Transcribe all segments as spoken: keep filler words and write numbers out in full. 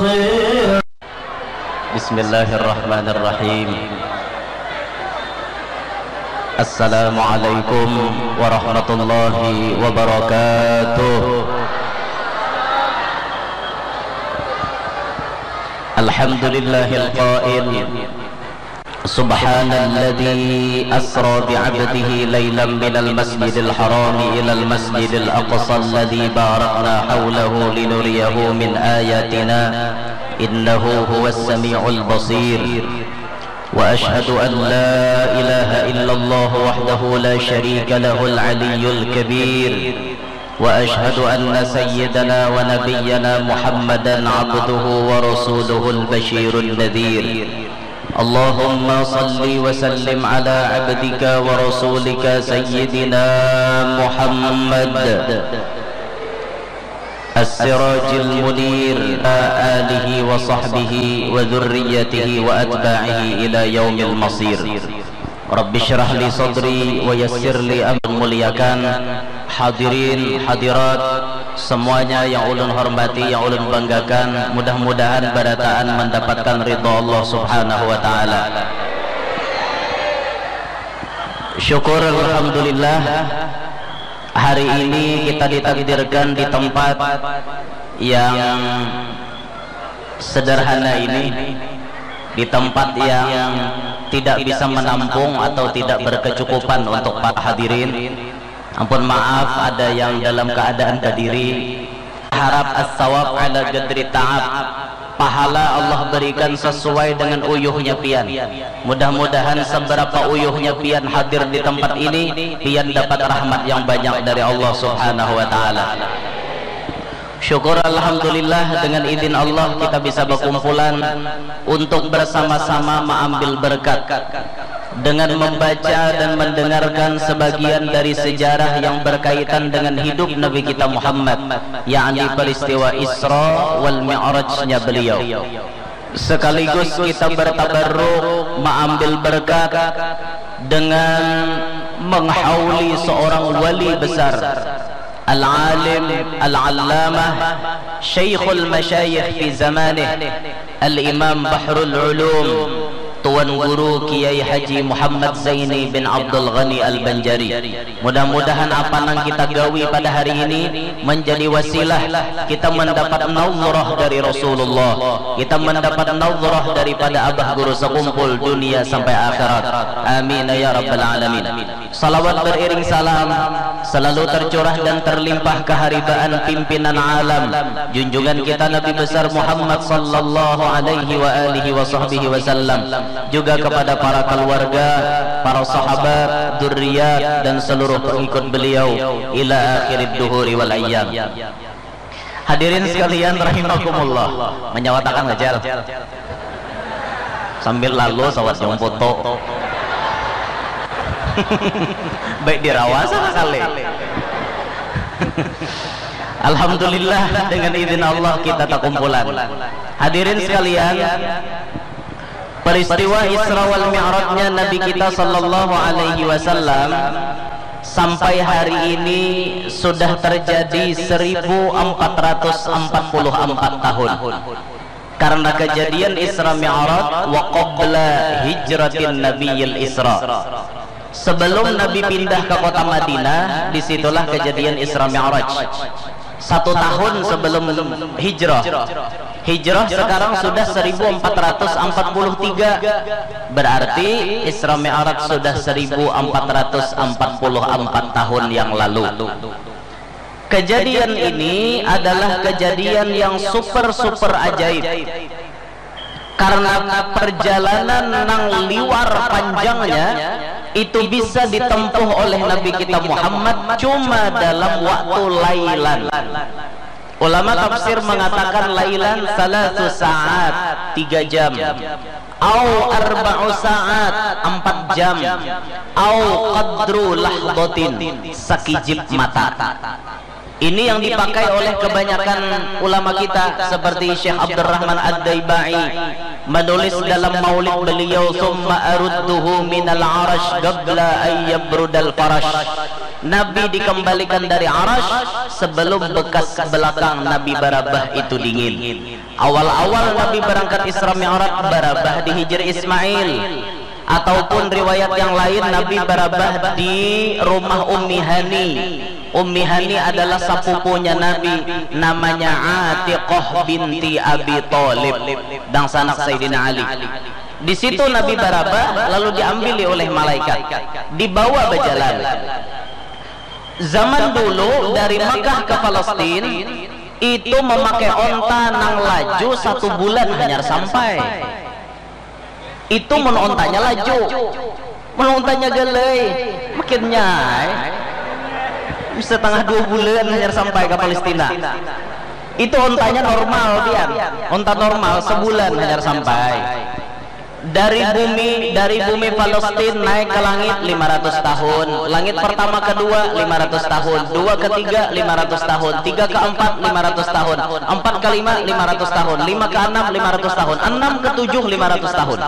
Bismillahirrahmanirrahim. Assalamualaikum warahmatullahi wabarakatuh. Alhamdulillahil qail, subhanalladzi asra bi'abdihi lailam minal masjidil harami ilal masjidil aqsa alladzi barakna haulahu linuriyahu min ayatina, innahu huwas samiul basir. Wa asyhadu an la ilaha illallah wahdahu la syarika lahul aliyyul kabir. Wa asyhadu anna sayyidana wa nabiyyana Muhammadan abduhu wa rasuluhul basyirun nadhir. Allahumma salli wa sallim ala abdika wa rasulika sayyidina Muhammad as-sirajil munir, wa alihi wa sahbihi wa dzurriyyatihi wa atba'ihi ila yaumil masir. Rabbi syrah li sadri wa yassir li amri. Muliakan hadirin hadirat semuanya yang ulun hormati, yang ulun banggakan, mudah-mudahan barataan mendapatkan ridha Allah Subhanahu wa taala. Syukur alhamdulillah, hari ini kita ditakdirkan di tempat yang sederhana ini, di tempat yang tidak bisa menampung atau tidak berkecukupan untuk para hadirin. Ampun maaf, ada yang dalam keadaan badiri. Harap as-sawab ala qadri ta'ab. Pahala Allah berikan sesuai dengan uyuhnya pian. Mudah-mudahan seberapa uyuhnya pian hadir di tempat ini, pian dapat rahmat yang banyak dari Allah Subhanahu wa taala. Syukur alhamdulillah, dengan izin Allah kita bisa berkumpulan untuk bersama-sama mengambil berkat dengan membaca dan mendengarkan sebagian dari sejarah yang berkaitan dengan hidup Nabi kita Muhammad, yakni peristiwa Isra wal Mi'rajnya beliau. Sekaligus kita bertabarruk, mengambil berkat dengan menghauli seorang wali besar, al-alim, al-allamah, syaikhul masyayikh fi zamanih, al-imam bahrul ulum, Tuan Guru Kiai Haji Muhammad Zaini bin Abdul Ghani Al-Banjari. Mudah-mudahan apa nang kita gawi pada hari ini menjadi wasilah kita mendapat nazrah dari Rasulullah, kita mendapat nazrah daripada Abah Guru sekumpul dunia sampai akhirat. Amin ya rabbal alamin. Salawat beriring salam selalu tercurah dan terlimpah keharibaan pimpinan alam, junjungan kita Nabi besar Muhammad sallallahu alaihi wa alihi wa sahbihi wasallam, juga kepada para keluarga, para sahabat, dzurriyyat, dan seluruh pengikut beliau ila akhirid duhuri wal ayyam. Hadirin sekalian rahimakumullah, menyawatakan ngajal sambil lalu sawat yang foto. Baik dirawasa kali. Alhamdulillah, dengan izin Allah kita takumpulan. Hadirin sekalian, peristiwa Isra wal Mi'rajnya Nabi kita sallallahu alaihi wasallam sampai hari ini sudah terjadi seribu empat ratus empat puluh empat tahun. Karena kejadian Isra Mi'raj wa qabla hijratin Nabiyil Isra. Sebelum Nabi pindah ke kota Madinah, disitulah kejadian Isra Mi'raj. Satu tahun sebelum hijrah. Hijrah sekarang sudah seribu empat ratus empat puluh tiga. Berarti Isra Mi'raj sudah seribu empat ratus empat puluh empat tahun yang lalu. Kejadian ini adalah kejadian yang super-super ajaib. Karena perjalanan nang liwar panjangnya itu bisa ditempuh oleh Nabi kita Muhammad cuma dalam waktu lailan. Ulama tafsir mengatakan lailan salasu saat, tiga jam. Au arba'u saat, empat jam. Au qadru lahdotin, sakijip mata. Ini yang dipakai oleh kebanyakan ulama kita seperti Syekh Abdurrahman Ad-Daibai, Menulis dalam maulid beliau, "Summa arudduhu minal arash qabla ayyabrudal farash." Nabi dikembalikan dari arash sebelum bekas belakang Nabi barabah itu dingin. Awal-awal Nabi berangkat Isra Mi'raj, barabah di Hijir Ismail. Ataupun riwayat yang lain, Nabi barabah di rumah Ummi Hani. Ummi Hani adalah sapupunya Nabi, namanya Atiqah binti Abi Thalib, dangsanak Sayyidina Ali. Di situ Nabi barabah, lalu diambili oleh malaikat, dibawa bajalan. Zaman dulu dari Makkah ke Palestin itu memakai onta nang laju satu bulan hanyar sampai. Itu mun ontanya laju. Mun ontanya galai, makin nyai. Bisa tengah dua bulan hanyar sampai ke Palestina. Itu ontanya normal, pian. Onta normal sebulan hanyar sampai. Dari bumi, dari bumi Palestin naik ke langit lima ratus tahun. Langit pertama, kedua, lima ratus tahun. Dua, ketiga, lima ratus tahun. Tiga, keempat, lima ratus tahun. Empat, kelima, lima ratus tahun. Lima, keenam, lima ratus tahun. Enam, ketujuh, lima ratus tahun.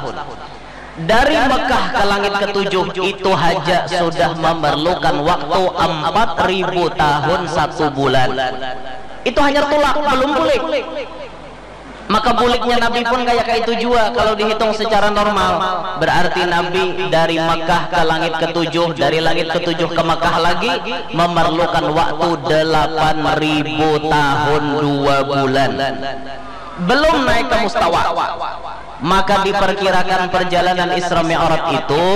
Dari Mekah ke langit ketujuh itu haja sudah memerlukan waktu empat ribu tahun satu bulan. Itu hanyar tulak, belum bulik. Maka buliknya Nabi pun kaya kaitu jua kalau dihitung secara normal. Berarti Nabi dari Mekah ke langit ketujuh, dari langit ketujuh ke Mekah lagi memerlukan waktu delapan ribu tahun dua bulan. Belum naik ke mustawa. Maka diperkirakan perjalanan Isra Mi'raj itu,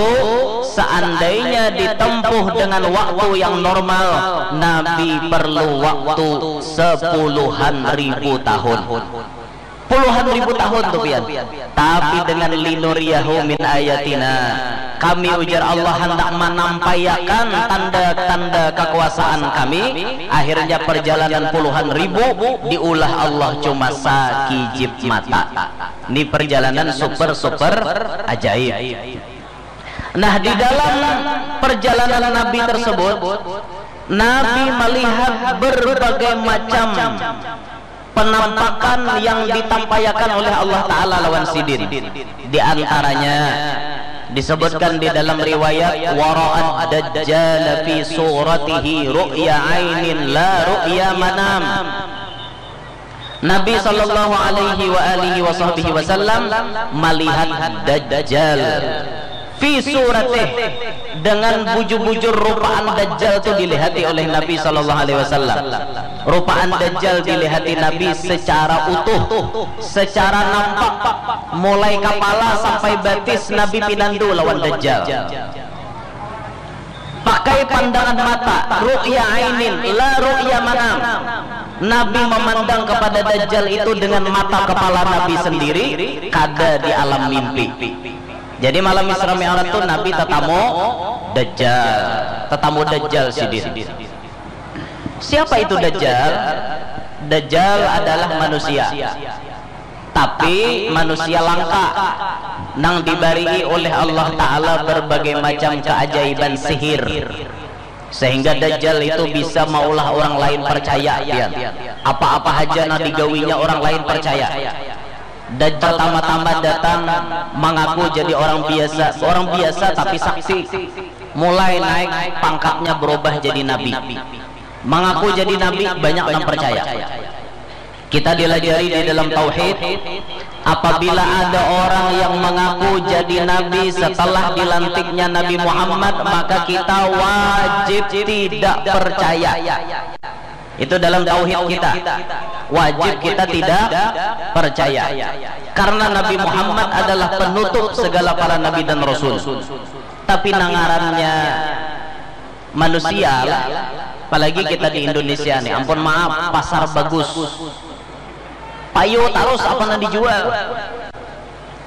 seandainya ditempuh dengan waktu yang normal, Nabi perlu waktu sepuluhan ribu tahun. Puluhan ribu tahun tu, pian. Tapi dengan linuriyahu min ayatina, kami, ujar Allah, handak manampaiakan tanda-tanda kekuasaan kami. Akhirnya perjalanan puluhan ribu diulah Allah cuma sakijip mata. Ini perjalanan super-super ajaib. Nah, di dalam perjalanan Nabi tersebut, Nabi melihat berbagai macam penampakan yang ditampaiakan oleh Allah Ta'ala lawan sidin. Di antaranya disebutkan di dalam riwayat, "Wara'ad dajjal fi suratihi ru'ya ainin la ru'ya manam." Nabi sallallahu alaihi wa alihi wa sahbihi wasallam melihat Dajjal fi suratih, dengan bujur-bujur rupaan Dajjal tu dilihati oleh Nabi sallallahu alaihi wasallam. Rupaan Dajjal dilihati Nabi secara utuh, secara nampak, mulai kapala sampai batis Nabi pinandu lawan Dajjal. Pakai pandangan mata, ru'ya ainin, la ru'ya manam. Nabi memandang kepada Dajjal itu dengan mata kepala Nabi sendiri, kada di alam mimpi. Jadi malam Isra Mi'raj tu Nabi tatamu Dajjal, tatamu Dajjal sidin. Siapa itu Dajjal? Dajjal adalah manusia, tapi manusia langka nang dibarii oleh Allah Ta'ala berbagai macam keajaiban sihir, sehingga Dajjal itu bisa maulah orang lain percaya, pian. Apa-apa haja nang digawinya orang lain percaya. Dajjal tama-tama datang mengaku jadi orang biasa, orang biasa tapi sakti. Mulai naik pangkatnya, berubah jadi nabi. Mengaku jadi nabi, banyak nang percaya. Kita dilajari di dalam tauhid, apabila ada orang yang mengaku jadi nabi setelah dilantiknya Nabi Muhammad, maka kita wajib tidak percaya. Itu dalam tauhid kita. Wajib kita tidak percaya. Karena Nabi Muhammad adalah penutup segala para nabi dan rasul. Tapi nang ngarannya manusia lah. Apalagi kita di Indonesia nih, ampun maaf, pasar bagus. Payu tarus apa nang dijual.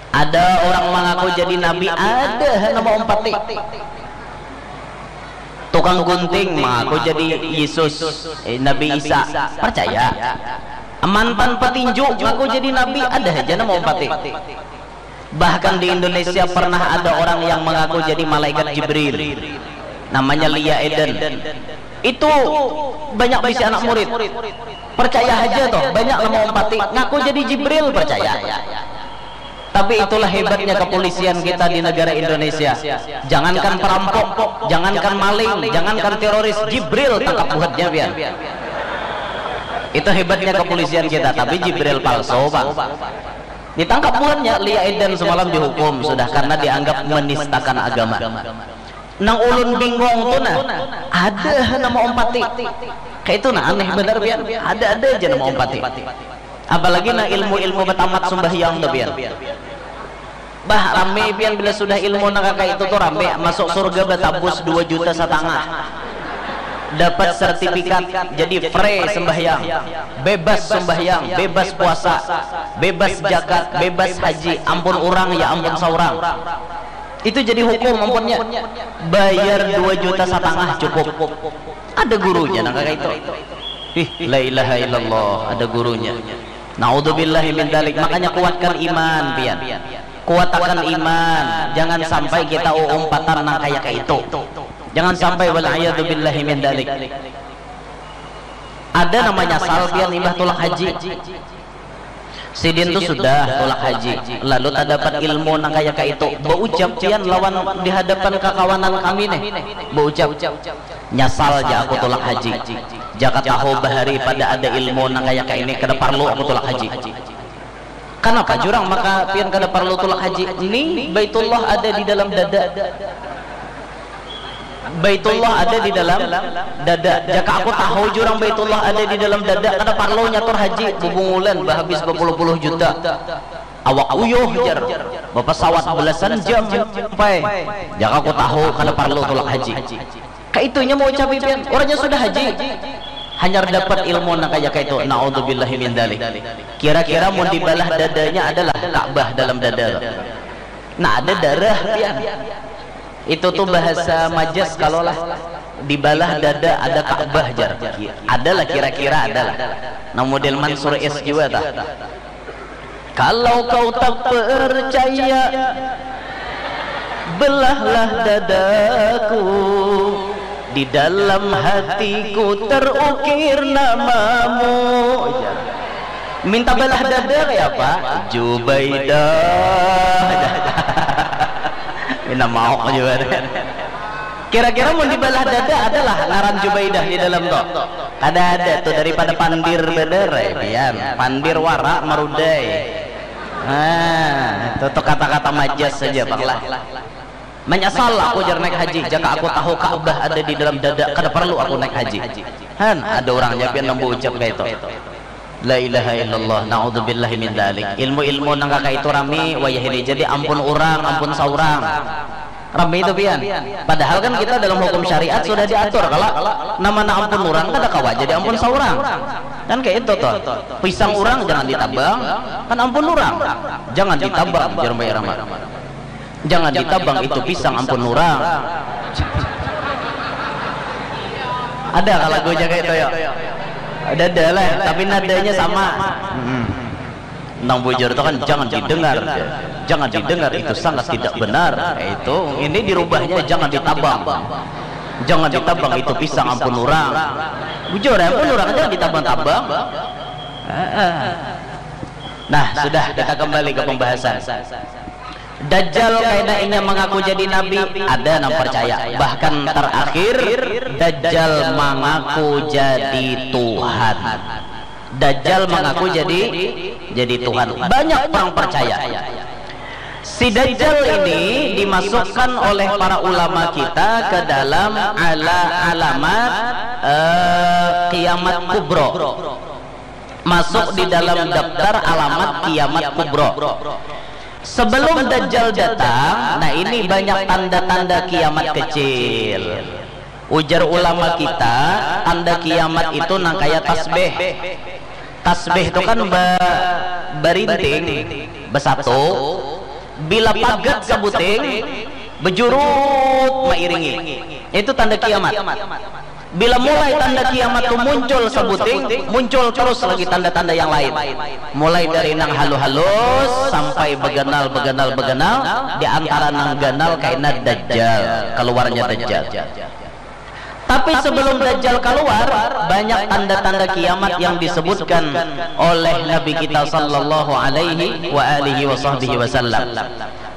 Ada orang mengaku jadi nabi, ada nama umpati. Tukang gunting mengaku jadi Yesus, eh, Nabi Isa, percaya. Mantan petinju ngaku jadi nabi, ada aja nama umpati. Bahkan di Indonesia pernah ada orang yang mengaku jadi malaikat Jibril, namanya Lia Eden. Itu banyak bisi anak murid. Percaya aja toh, banyak nama umpati ngaku jadi Jibril, percaya. Tapi itulah hebatnya kepolisian kita di negara Indonesia. Jangankan perampok, jangankan maling, jangankan teroris, Jibril tangkap buhatnya, pian. Itu hebatnya kepolisian kita, tapi Jibril palsu, Bang. Ditangkap buhatnya, Lia Eden semalam dihukum sudah karena dianggap menistakan agama. Nang ulun bingung tu nah, ada nama Om Pati. Kayak itu nah, aneh benar, pian. Ada-ada aja nama Om Pati. Apalagi nah ilmu-ilmu batamat sumbahyang tu, pian. Bah, rame, pian, bila sudah ilmu nang kaya itu tu rame. Masuk surga batabus dua juta satangah. Dapat sertifikat jadi free sembahyang, bebas sembahyang, bebas puasa, bebas jakat, bebas haji, ampun urang ya ampun saurang. Itu jadi hukum ampunnya. Bayar dua juta satangah cukup. Ada gurunya nang kaya itu. Ih, la ilaha illallah, ada gurunya. Naudzubillahi min dalik. Makanya kuatkan iman, pian. Kuatakan iman. Jangan sampai kita uumpatan nang kaya itu. Jangan sampai, wal iyadzu billahi min dalik. Ada namanya sal, pian, imbah tulak haji. Sidin tu sudah tulak haji, lalu tadapat ilmu nang kaya kaitu. Baucap pian lawan di hadapan kakawanan kami nih. Baucap, "Nyasal ja aku tulak haji. Jaka tahu bahari pada ada ilmu nang kaya kaini, kada parlu aku tulak haji." Kanapa jurang maka pian kada parlu tulak haji? Nih, Baitullah ada di dalam dada. Baitullah ada di dalam dada. Jaka aku tahu jurang Baitullah ada di dalam dada, kada parlu nyatur haji, bubungulan bahabis bapuluh-puluh juta. Awak uyuh, jar. Bapasawat belasan jam sampai. Jaka aku tahu, kada parlu tulak haji. Kaitunya mau ucapi pian, urangnya sudah haji. Hanyar dapat ilmu nang kaya kaitu. Naudzubillahi min dalik. Kira-kira mun dibalah dadanya adalah Ka'bah dalam dada. Nah, ada darah pian. Itu tuh bahasa majas kalau lah. Dibalah dada ada Ka'bah, jar. Adalah, kira-kira adalah. Nah, model Mansur S juga tah. Kalau kau tak percaya, belahlah dadaku. Di dalam hatiku terukir namamu. Jar. Minta balah dada kaya apa? Jubaidah. Minta maok juga. Kira-kira mun dibalah dada adalah ngaran Jubaidah di dalam tu? Kada ada tu, daripada pandir banar ai pian. Pandir wara marudai. Nah, itu tu kata-kata majas saja, Bang, lah. Manyasal aku, jar, naik haji, jaka aku tahu Ka'bah ada di dalam dada, kada parlu aku naik haji. Han, ada urangnya pian nang baucap kaitu. La ilaha illallah, naudzubillahi min dalik. Ilmu-ilmu nang kaka itu rami wayah ini, jadi ampun urang, ampun saurang. Rami itu pian. Padahal kan kita dalam hukum syariat sudah diatur, kalau nama nang ampun urang kada kawa jadi ampun saurang. Kan kayak itu tuh. Pisang urang jangan ditabang, kan ampun urang. Jangan ditabang, jar Mbah Rama. Jangan ditabang itu pisang, ampun urang. Ada kalau lagu jaga itu ya? Ada, ada lah, tapi nadanya sama. Mm-mm. Nang bujur itu kan jangan didengar. Jangan didengar, itu sangat tidak benar. Itu, ini dirubahnya jangan ditabang. Jangan ditabang itu pisang, ampun urang. Bujur, ampun urang, jangan ditabang-tabang. Heeh. Nah, sudah, kita kembali ke pembahasan. Dajjal kaina inya mengaku jadi nabi, ada nang percaya. Bahkan terakhir, Dajjal mengaku jadi Tuhan. Dajjal mengaku jadi jadi Tuhan. Banyak orang percaya. Si Dajjal ini dimasukkan oleh para ulama kita ke dalam ala alamat eh, kiamat kubro. Masuk di dalam daftar alamat kiamat kubro. Sebelum Dajjal datang, nah, ini banyak tanda-tanda kiamat kecil. Ujar ulama kita, tanda kiamat itu nang kaya tasbih. Tasbih itu kan ba- barinting, besatu. Bila pagat sabuting, bejurut mairingi. Itu tanda kiamat. Bila mulai tanda kiamat tu muncul sabuting, muncul terus lagi tanda-tanda yang lain. Mulai dari nang halus-halus sampai beganal, beganal, beganal, di antara nang ganal kaina Dajjal, keluarnya Dajjal. Tapi sebelum Dajjal keluar, banyak tanda-tanda kiamat yang disebutkan oleh Nabi kita sallallahu alaihi wa alihi wa sahbihi wasallam.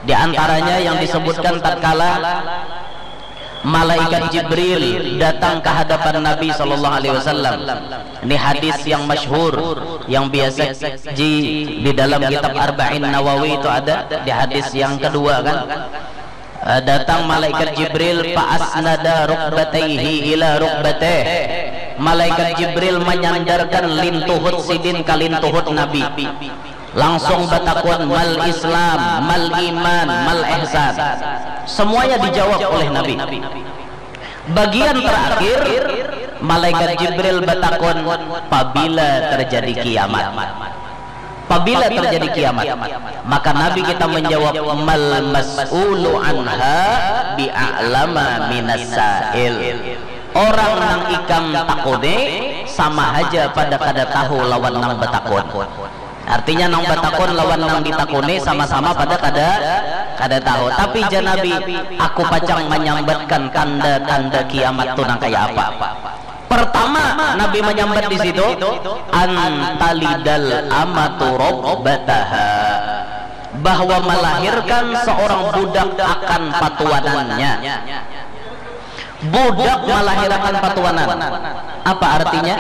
Di antaranya yang disebutkan tatkala malaikat Jibril datang ke hadapan Nabi sallallahu alaihi wasallam. Ini hadis yang masyhur, yang biasa ji di dalam kitab Arba'in Nawawi itu ada di hadis yang kedua kan. Eh, datang malaikat Jibril, fa asnada rukbataihi ila rukbateh. Malaikat Jibril menyandarkan lintuhut sidin ke lintuhut Nabi. Langsung batakun, mal Islam, mal iman, mal ihsan. Semuanya dijawab oleh Nabi. Bagian terakhir, malaikat Jibril batakun, pabila terjadi kiamat. Pabila terjadi kiamat, maka Nabi kita menjawab, mal mas'ulu anha bi'a'lama minas sa'il. Orang nang ikam takuni sama haja pada kada tahu lawan nang batakun. Artinya nang batakun lawan nang ditakuni sama-sama pada kada kada tahu. Tapi jar Nabi, aku pacang menyambatkan tanda-tanda kiamat tu nang kaya apa. Pertama, Nabi menyambat di situ, antalidal amatu rabbataha, bahwa melahirkan seorang budak akan patuanannya. Budak melahirakan patuanan. Apa artinya?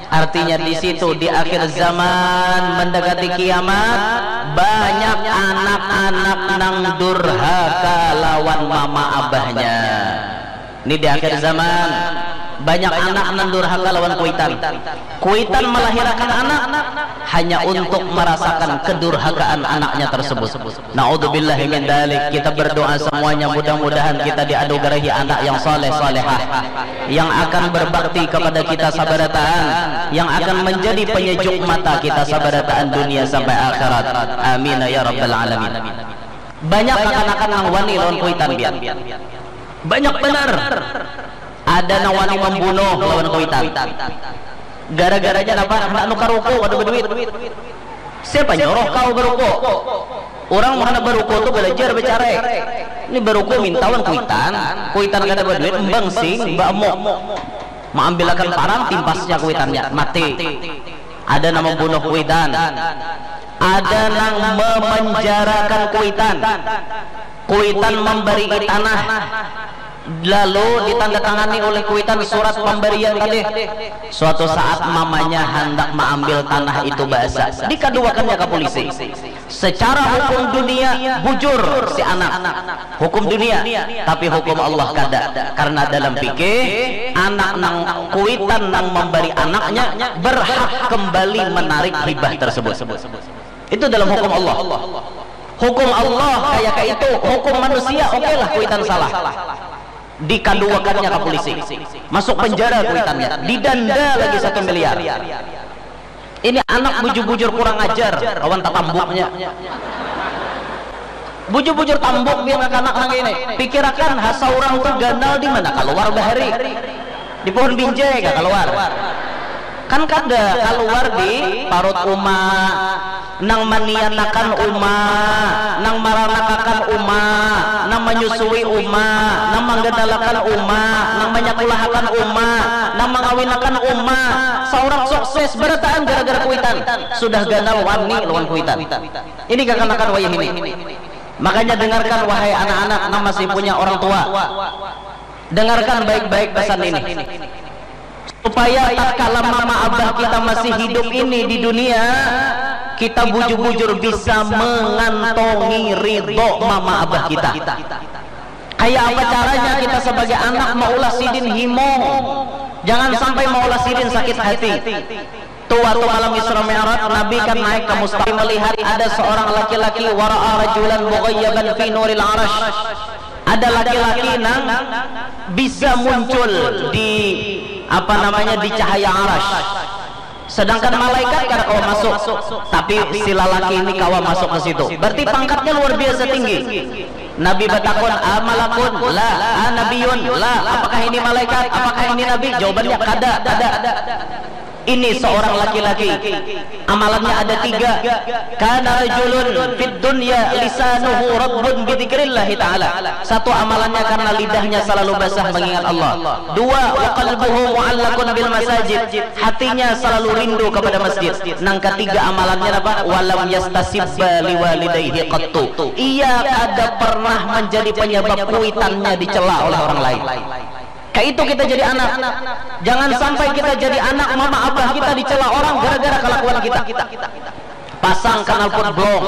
Artinya di situ di akhir zaman mendekati kiamat, banyak anak-anak nang durhaka lawan mama abahnya. Ini di akhir zaman, banyak anak nang durhaka lawan kuitan. Kuitan melahirakan anak, hanya untuk merasakan kedurhakaan anaknya tersebut. Naudzubillahi min dalik. Kita berdoa semuanya, mudah-mudahan kita dianugerahi anak yang saleh salehah, yang akan berbakti kepada kita sabarataan, yang akan menjadi penyejuk mata kita sabarataan dunia sampai akhirat. Amin ya rabbal alamin. Banyak kakanakan nang wani lawan kuitan, biar. Banyak banar. Ada nang wani mambunuh lawan kuitan. Gara-garanya napa? Handak nukar ruko kada baduit. Siapa nyuruh kau baruko? Urang mun handak baruko tu balajar bacarai. Ini baruko minta wan kuitan. Kuitan kada baduit, mbangsing, baamuk. Maambilakan parang, timpasnya kuitannya, mati. Ada nang mambunuh kuitan. Ada nang mamanjarakan kuitan. Kuitan mambarii tanah. Lalu ditandatangani oleh kuitan surat pambarian tadi. Suatu saat mamanya handak maambil tanah itu, baasa dikaduakannya ka pulisi. Secara hukum dunia bujur si anak, hukum dunia, tapi hukum Allah kada. Karena dalam fikih, anak nang kuitan nang mambari anaknya berhak kembali menarik hibah tersebut. Itu dalam hukum Allah. Hukum Allah kaya kaitu, hukum manusia, oke lah, kuitan salah. Dikaduakannya ka pulisi. Masuk penjara kuitannya, didanda lagi satu miliar. Ini anak bujur-bujur kurang ajar lawan tatambuknya. Bujur-bujur tambuk pian kakanak nang ini. Pikirakan, ha, saurang tu ganal di mana kaluar bahari? Di pohon binjai kah kaluar? Kan kada, kaluar di parut uma, nang manianakan uma, nang maranakakan uma, nang manyusui uma, nang mangganalakan uma, nang manyakulahakan uma, nang mangawinakan uma. Saurang sukses barataan gara-gara kuitan. Sudah ganal wani lawan kuitan. Ini kakanakan wayah ini. Makanya dengarkan, wahai anak-anak nang masih punya orang tua. Dengarkan baik-baik pesan ini. Supaya tatkala mama abah kita masih hidup ini di dunia, kita bujur-bujur bisa mengantongi ridho mama abah kita. Kayak apa caranya kita sebagai anak maulah sidin himo? Jangan sampai maulah sidin sakit hati. Tu waktu malam Isra Mi'raj, Nabi kan naik ke Mustafa, melihat ada seorang laki-laki, wara'a rajulan mughayyaban fi nuril arash. Ada laki-laki nang bisa muncul di, apa namanya, di cahaya arash. Sedangkan malaikat kada kawa masuk, tapi si lalaki ini kawa masuk ke situ. Berarti pangkatnya luar biasa tinggi. Nabi batakun, a malakun? La. A nabiyun? La. Apakah ini malaikat? Apakah ini nabi? Jawabannya kada, kada. Ini seorang laki-laki, amalannya ada tiga. Kana rajulun fid dunya lisanuhu rabbun bidzikrillahi ta'ala. Satu amalannya karena lidahnya selalu basah mengingat Allah. Dua, wa qalbuhu mu'allakun bil masajid. Hatinya selalu rindu kepada masjid. Nang ketiga amalannya apa? Walam yastasibba liwalidayhi qattu. Ia kada pernah menjadi penyebab kuitannya dicela oleh orang lain. Kayak itu kita jadi anak. Jangan sampai kita jadi anak mama abah kita dicela orang gara-gara kelakuan kita. Pasang knalpot blong.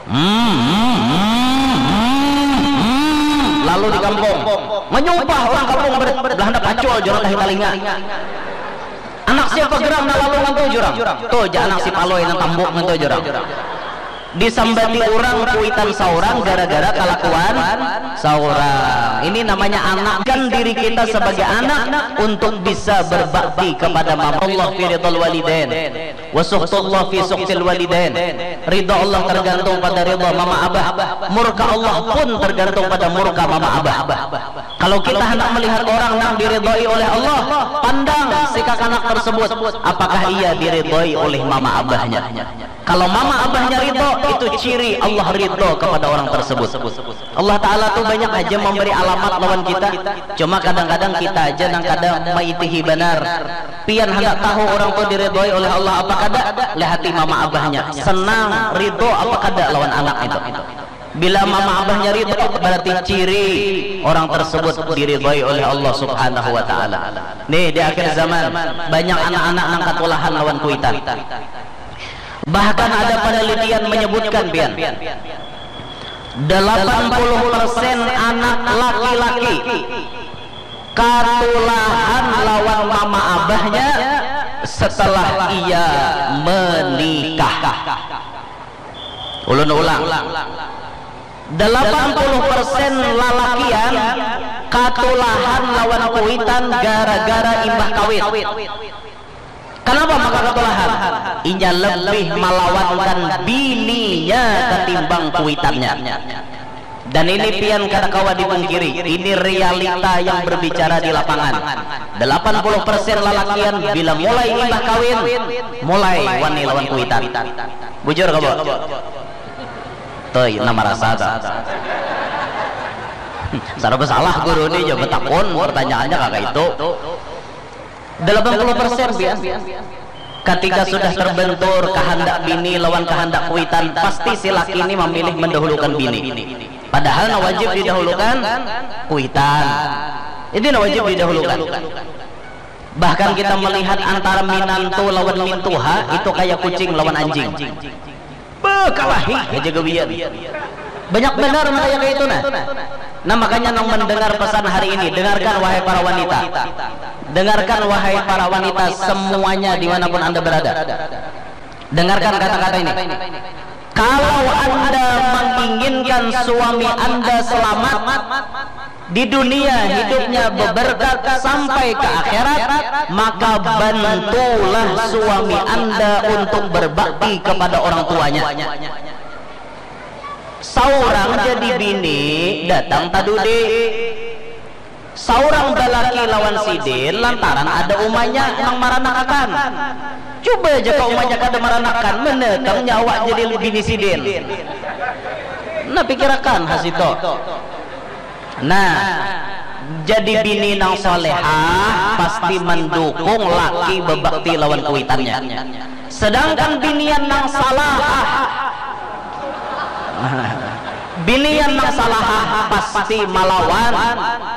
Hmm, hmm, hmm, hmm, hmm. Lalu di kampung, menyumpah orang kampung ber-, belanda pacul jorang tahi talinga. Anak siapa geram nang lalu ngantu jurang? Tuh, ja anak si Palui nang tambuk ngantu jurang. Disambati orang kuitan saurang gara-gara kelakuan saurang. Ini namanya anak. Kan diri kita sebagai anak untuk bisa berbakti kepada mama. Allah fi ridhal walidain. Wa sukhtullah fi sukhtil walidain. Ridha Allah tergantung pada ridha mama abah. Murka Allah pun tergantung pada murka mama abah. Kalau kita hendak melihat orang nang diridhoi oleh Allah, pandang si kakanak tersebut, apakah ia diridhoi oleh mama abahnya. Kalau mama abahnya ridho, itu ciri Allah ridho kepada orang tersebut. Allah Ta'ala tuh banyak aja memberi alamat lawan kita. Cuma kadang-kadang kita aja nang kada maitihi banar. Pian handak tahu orang tuh diridhoi oleh Allah apa kada? Lihati mama abahnya. Senang, ridho apa kada lawan anak itu. Bila mama abahnya ridho, berarti ciri orang tersebut diridhoi oleh Allah Subhanahu wa Ta'ala. Nih, di akhir zaman, banyak anak-anak nang katulahan lawan kuitan. Bahkan ada penelitian menyebutkan, pian, delapan puluh persen anak laki-laki katulahan lawan mama abahnya setelah ia menikah. Ulun ulang. Delapan puluh persen lalakian katulahan lawan kuitan gara-gara imbah kawin. Kenapa maka katulahan? Inya lebih malawankan bininya ketimbang kuitannya. Dan ini pian kada kawa dipungkiri, ini realita yang berbicara di lapangan. Delapan puluh persen lalakian bila mulai imbah kawin, mulai wani lawan kuitan. Bujur kawa? Tuh, nama rasa tuh. Saraba salah guru ni, jawab takun pertanyaannya kagak itu. Delapan puluh persen, pian. Ketika sudah terbentur kehendak bini lawan kehendak kuitan, pasti si laki ini memilih mendahulukan bini. Padahal na wajib didahulukan kuitan. Ini na wajib didahulukan. Bahkan kita melihat antara minantu lawan mintuha itu kayak kucing lawan anjing. Bekalahi aja gawian. Banyak benar nang kaya itu nah. Nah, makanya nang mendengar pesan hari ini, dengarkan wahai para wanita. Dengarkan wahai para wanita semuanya dimanapun Anda berada. Dengarkan kata-kata ini. Kalau Anda menginginkan suami Anda selamat di dunia, hidupnya beberkat sampai ke akhirat, maka bantulah suami Anda untuk berbakti kepada orang tuanya. Saurang jadi bini datang tadudi. Saurang balaki lawan sidin lantaran ada umanya nang maranakakan. Cuba aja ka umanya kada maranakakan, menetang nyawa jadi bini sidin. Nah, pikirakan ha situ. Nah, jadi bini nang salehah pasti mendukung laki bebakti lawan kuitannya. Sedangkan binian nang salahah, binian nang salahah pasti malawan,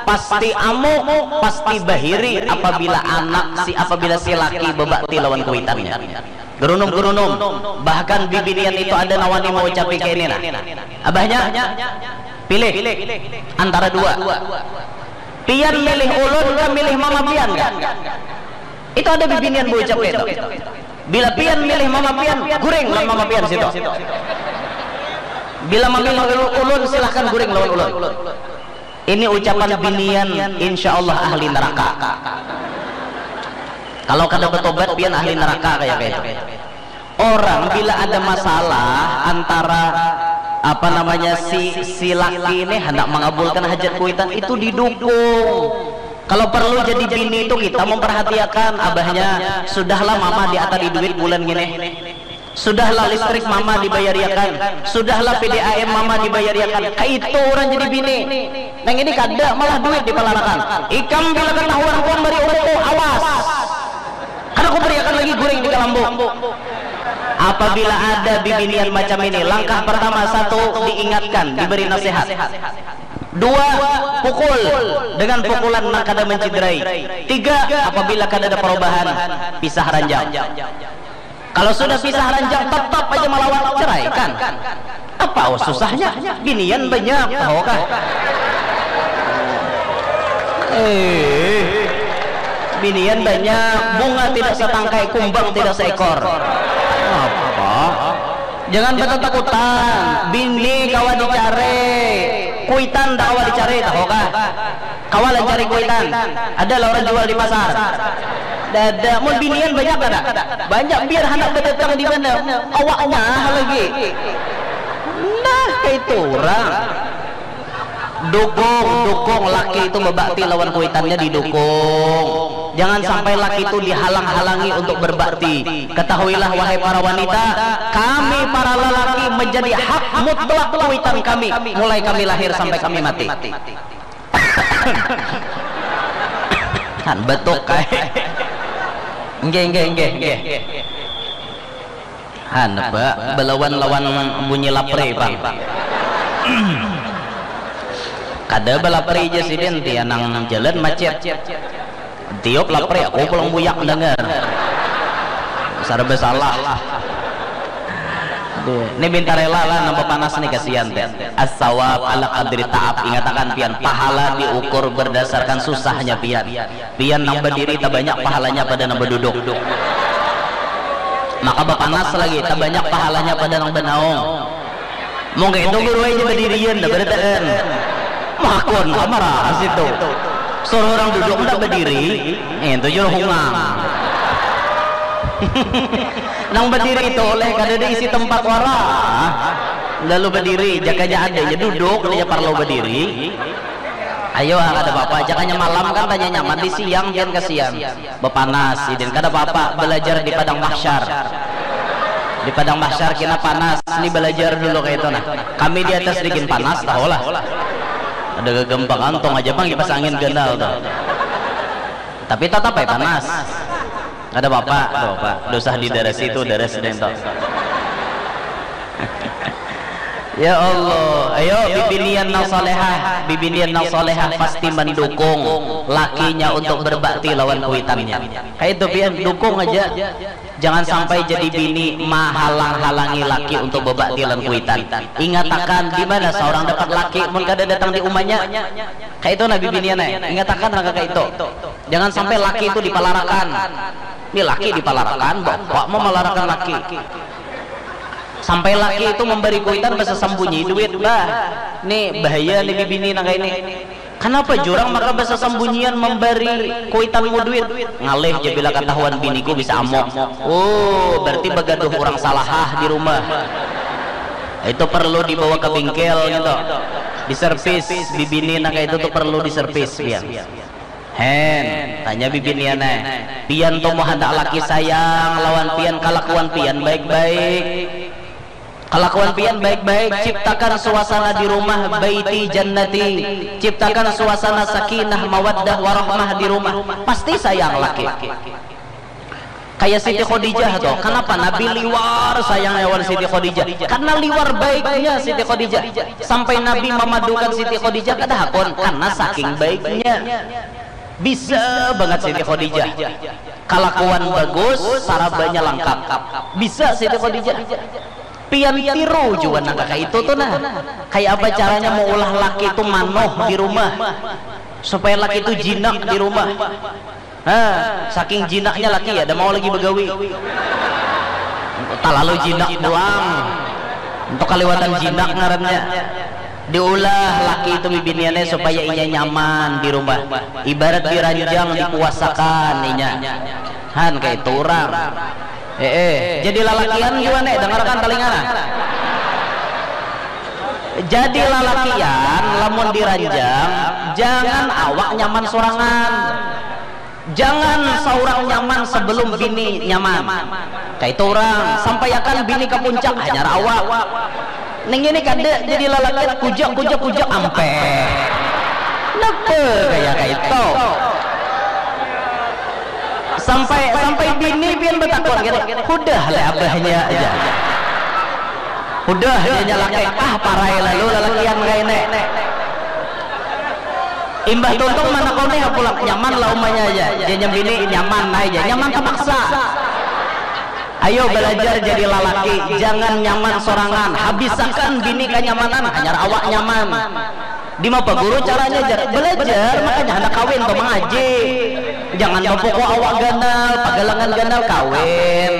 pasti amuk, pasti bahiri apabila anak si, apabila si laki bebakti lawan kuitannya. Gerunum-gerunum, bahkan bibinian itu ada nang wani maucapi kaini nah. Abahnya, pilih antara dua. Pian milih ulun kah milih mama pian kah? Itu ada bibinian baucap kaya itu. Bila pian milih mama pian, guring lawan mama pian situ. Bila mamilih ulun, silahkan guring lawan ulun. Ini ucapan binian, insya Allah ahli neraka. Kalau kada betobat, pian ahli neraka kaya, kaya itu. Orang bila ada masalah antara, apa namanya, si, si laki ini hendak mengabulkan hajat kuitan, itu didukung. Kalau perlu jadi bini itu kita memperhatiakan abahnya, sudahlah mama diatadi duit bulan gini. Sudahlah listrik mama dibayariakan, sudahlah P D A M mama dibayariakan. Kaitu urang jadi bini. Nang ini kada, malah duit dipalarakan. Ikam bila katahuan ku mambari umku, awas. Kada kubariakan lagi guring di kalambu. Apabila ada bibinian macam ini, langkah pertama, satu, diingatkan, diberi nasihat. Dua, pukul dengan pukulan nang kada menciderai. Tiga, apabila kada ada perubahan, pisah ranjang. Kalau sudah pisah ranjang, tetap aja melawan, ceraikan. Apa susahnya? Binian banyak, tahu kah? Eh, binian banyak, bunga tidak setangkai, kumbang tidak seekor. Apa? Jangan bertetakutan. Bini kawa dicari, kuitan tak kawa dicari, tahu kah? Kawa lah cari kuitan. Ada lah orang jual di pasar. Dada, mun binian banyak kada? Banyak, biar handak berdatang di mana? Awaknya lagi. Nah, kayak itu orang. Dukung, dukung laki itu berbakti lawan kuitannya, didukung. Jangan sampai laki itu dihalang-halangi untuk berbakti. Ketahuilah, wahai para wanita, kami para lelaki menjadi hak mutlak kuitan kami, mulai kami lahir sampai kami mati. Han betuk kai. Nggih, nggih, nggih, nggih. Han ba belawan lawan bunyi lapri pang. Kada balapri ja sidin, tianang jalan macet. Tiup lapri, aku pulang buyak mendengar. Serba salah. Ini minta rela lah nambah panas nih, kasihan teh. As-sawab ala qadri ta'ab. Ingatakan pian, pahala diukur berdasarkan susahnya pian. Pian nang badiri tabanyak pahalanya pada nang baduduk. Maka bapanas lagi, tabanyak pahalanya pada nang banaung. Mungkin itu guru aja badirian dah barataan. Makun kamar situ. Suruh orang duduk ndak badiri, itu juru hungang. Nang badiri itu oleh kada diisi tempat wara. Lalu badiri, jakanya adanya duduk, dia parlo badiri. Ayo, ah, kada apa-apa. Jakanya malam kan tanya nyaman, di siang pian kasihan. Bapanas, sidin. Kada apa-apa, belajar di padang mahsyar. Di padang mahsyar kena panas, ni belajar dulu kayak itu nah. Kami di atas digin panas, tahu lah. Ada gegempa kantong aja bang, kipas angin ganal tuh. Tapi tetap aja panas. Kada apa-apa, kada apa-apa. Dosa di daras itu, daras dento. Ya Allah, ayo bibinian nang solehah, bibinian nang solehah pasti mendukung lakinya untuk berbakti lawan kuitannya. Kayak itu pian, dukung aja. Jangan sampai jadi bini mahalang-halangi laki untuk berbakti lawan kuitan. Ingatakan di mana seorang dapat laki mun kada datang di umanya. Kayak itu nah bibinian eh. Ingatakan nang kayak itu. Jangan sampai laki itu dipalarakan. Ini laki dipalarakan, bapak memalarakan laki. Sampai laki itu memberi kuitan basa sambunyi duit, bah. Nih bahaya nih bibini nang kayak ini. Kenapa jurang maka basa sambunyian memberi kuitanmu duit? Ngalih je bila ketahuan biniku bisa amok. Oh, berarti bagaduh orang salahah di rumah. Itu perlu dibawa ke bengkel gitu. Diservis, bibini nang kayak itu tuh perlu diservis pian. Hen, tanya bibinian eh. Pian tuh mau hendak laki sayang lawan pian, kalakuan pian baik-baik. Kalakuan pian baik-baik, ciptakan suasana di rumah baiti jannati. Ciptakan suasana sakinah, mawaddah, warahmah di rumah. Pasti sayang laki. Kayak Siti Khadijah tuh, kenapa Nabi liwar sayangnya wan Siti Khadijah? Karena liwar baiknya Siti Khadijah. Sampai Nabi memadukan Siti Khadijah kada hakun, karena saking baiknya. Bisa banget Siti Khadijah. Kalakuan bagus, sarabanya lengkap. Bisa Siti Khadijah. Pian tiru jua nang kaya itu tuh nah. Kayak apa caranya mau ulah laki itu manuh di rumah supaya laki itu jinak di rumah. Nah, saking jinaknya laki ya, ada mau lagi begawi. Terlalu jinak pulang. Untuk kaliwatan jinak ngarannya. Diulah laki itu bibiniannya supaya inya nyaman di rumah. Ibarat diranjang, dikuasakan inya. Han kayak itu orang. Eh, eh, jadi lalakian juga nih, dengarkan telinga nah. Jadi lalakian lamun diranjang, jangan awak nyaman sorangan. Jangan saurang nyaman sebelum bini nyaman. Kaitu urang, sampaiakan bini ka puncak hanyar awak. Ning ini kada jadi lalakian, kujak, kujak, kujak, ampeh. Napa kaya kaitu? Sampai sampai bini pian batakun gini, hudah le abahnya aja. Hudah janya laki, ah parai lalu lalakian kaini. Imbah tuntung mana kau nih pulang, nyaman lah umanya aja. Janya bini nyaman aja, nyaman terpaksa. Ayo belajar jadi lalaki, jangan nyaman sorangan. Habisakan bini kanyamanan, hanyar awak nyaman. Di mapa guru caranya jar? Belajar, makanya handak kawin tuh mengaji. Jangan bapukul awak ganal, pagalangan ganal kawin.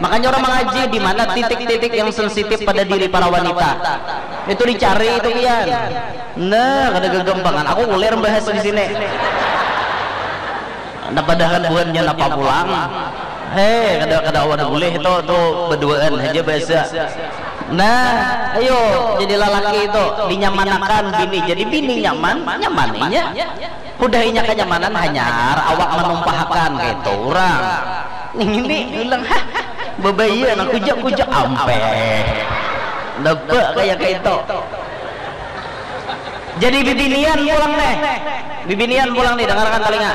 Makanya orang mengaji di mana titik-titik yang sensitif pada diri para wanita. Itu dicari itu pian. Nah, kada gagampangan. Aku ulir bahas di sini. Nah, padahal buhannya napa pulang. Hei, kada kada awan boleh tu tu berduaan aja bahasa. Nah, ayo jadi lalaki itu dinyamanakan bini. Jadi bini nyaman, nyaman inya. Hudah inya kanyamanan hanyar awak manumpahakan kaitu urang. Ning ini ulang ha. Babaya nang kujak-kujak ampeh. Napa kaya kaitu. Jadi bibinian pulang nih. Bibinian pulang nih, dengarkan telinga.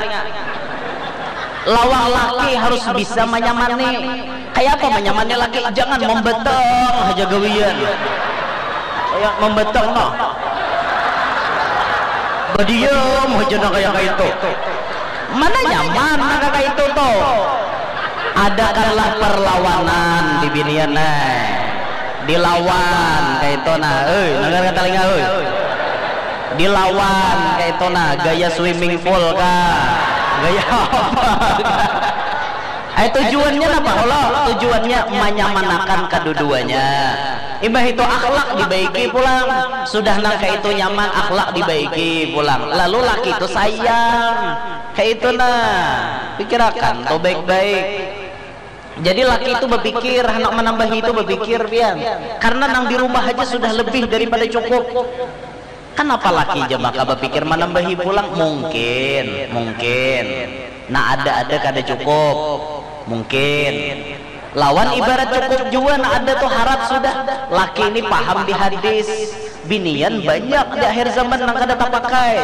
Lawang laki harus bisa manyamani. Kaya apa manyamani laki? Jangan membeteng haja gawian. Kaya membeteng noh. Badiam haja nah kaya kaitu. Mana nyaman nah kaya itu tuh. Adakanlah perlawanan bibinian nah. Dilawan kaitu nah. Euy, dengar kata telinga euy. Dilawan kaitu nah, gaya swimming pool kah? Gaya apa? Ai tujuannya napa kalo? Tujuannya manyamanakan kaduduanya. Imbah itu akhlak dibaiki pulang. Sudah nang kaitu nyaman, akhlak dibaiki pulang. Lalu laki itu sayang. Kaitu nah. Pikirakan tuh baik-baik. Jadi laki itu bapikir, handak manambahi itu bapikir pian. Karena nang di rumah haja sudah lebih daripada cukup. Kanapa laki ja maka bapikir manambahi pulang? Mungkin, mungkin. Nah, ada-ada kada cukup. Mungkin. Lawan ibarat cukup jua, nah ada tu harat sudah. Laki ini paham di hadis. Binian banyak di akhir zaman nang kada tapakai.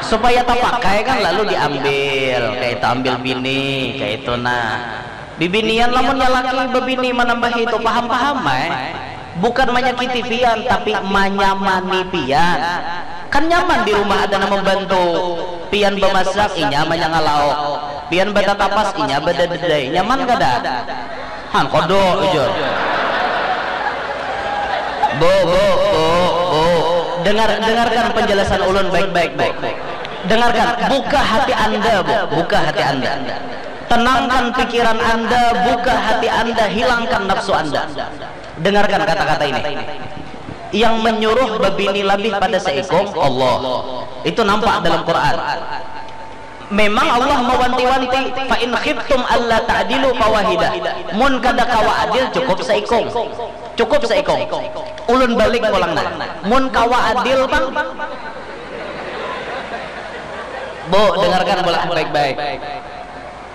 Supaya tapakai kan lalu diambil, kaitu ambil bini, kaitu nah. Bibinian lamunnya laki babini manambahi itu paham-paham ai. Bukan manyakiti pian tapi manyamani pian. Kan nyaman di rumah ada nang membantu. Pian bamasak inya manyanga lauk. Pian batatapas inya badadadai. Nyaman kada? Han kada ujar. Bu, bu, bu, bu. Dengar dengarkan penjelasan ulun baik-baik, Bu. Dengarkan, buka hati Anda, Bu. Buka hati Anda. Tenangkan pikiran Anda, buka hati Anda, hilangkan nafsu Anda. Dengarkan kata-kata ini. Yang menyuruh babini labih pada seikung Allah. Itu nampak dalam Quran. Memang Allah mawanti-wanti, fa in khiftum alla ta'dilu fawahidah. Mun kada kawa adil cukup seikung. Cukup seikung. Ulun balik pulang nah. Mun kawa adil pang. Bu, dengarkan pulang baik-baik.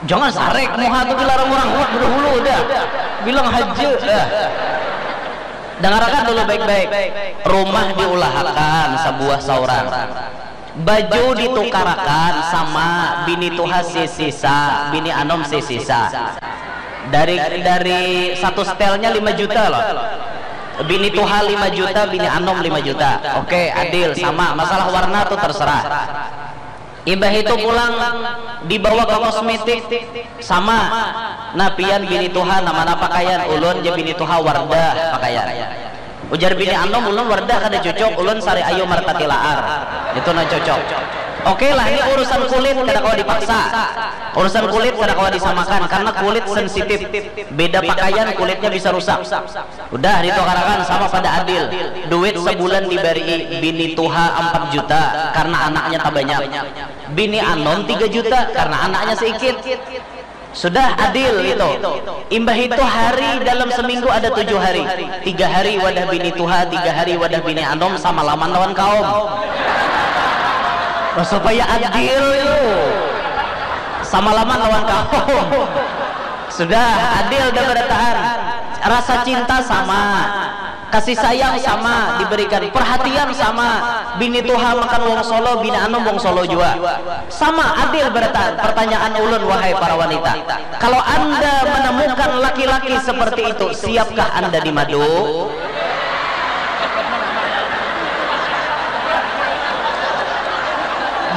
Jangan sarek muha tu dilarang orang buat bedahulu dah. Bilang haja dah. Dengarkan dulu baik-baik. Rumah diulahakan sebuah saurang. Baju ditukarakan sama bini tuha sisisa, bini anom sisisa. Dari dari satu setelnya lima juta loh. Bini tuha lima juta, bini anom lima juta. Oke, adil, sama. Masalah warna tuh terserah. Imbah itu pulang dibawa ke kosmetik sama. Nah, pian bini tuha nama pakaian, ulun je bini tuha Wardah pakaian. Ujar bini anom, ulun Wardah kada cocok, ulun Sari Ayu Martati Laar. Itu nah cocok. Oke lah, ini urusan kulit kada kawa dipaksa. Urusan kulit kada kawa disamakan karena kulit sensitif. Beda pakaian kulitnya bisa rusak. Udah ditukarakan sama pada adil. Duit sebulan dibari bini tuha empat juta karena anaknya tak banyak. Bini anom tiga juta karena anaknya sedikit. Sudah adil itu. Imbah itu hari dalam seminggu ada tujuh hari. Tiga hari wadah bini tuha, tiga hari wadah bini anom, samalaman lawan kaum. Nah, supaya adil itu. Samalaman lawan kaum. Sudah adil dah barataan. Rasa cinta sama. Kasih sayang sama diberikan, perhatian sama, bini tuha makan wong solo, bini anum wong solo jua. Sama, adil barataan. Pertanyaan ulun, wahai para wanita, kalau anda menemukan laki-laki seperti itu, siapkah anda dimadu?